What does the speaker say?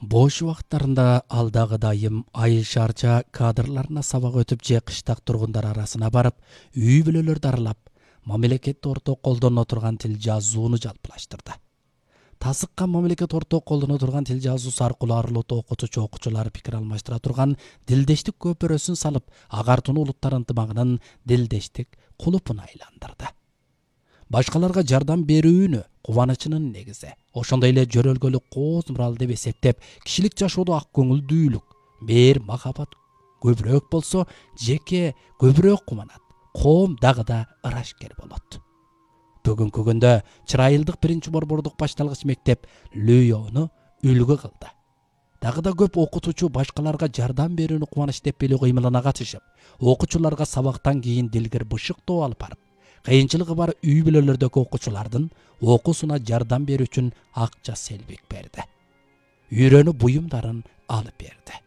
Бош убакыттарында ал дагы дайым айыл шаарча кадрларына сабак өтүп же кыштак тургундар арасына барып, үй бүлөлөрдү аралап, мамлекет орток колдоно турган тил жазууну жалпылаштырды. Тасыккан мамлекет орток колдоно турган тил жазуусу аркылуу арылуу окутуучу окуучулар пикир алмаштыра турган дилдештик көпүрөсүн салып, агартууну улуттар ынтымагынын дилдештик кулупуна айландырды. Башкаларга жардам берүүнү кубанычынын негизи, ошондой эле жөрөлгөлүк кооз мурал деп эсептеп, кишилик жашоодо ак көңүлдүүлүк, мээр махабат көбүрөөк болсо, жеке көбүрөөк кубанат, коом дагы да ырашкер болот. Бүгүнкү күндө Чырайылдык 1-борбордук башталгыч мектеп Лүйөөнү үлгү кылды. Дагы да көп окутуучу башкаларга жардам берүүнү кубаныч деп билүү кыймылына катышып, окуучуларга сабактан кийин дилгир бышыктоо алып барып, кыйынчылыгы бар үй бүлөлөрдөгү окуучулардын окуусуна жардам берүү үчүн акча селбик берди. Үйрөнүү буюмдарын алып берди.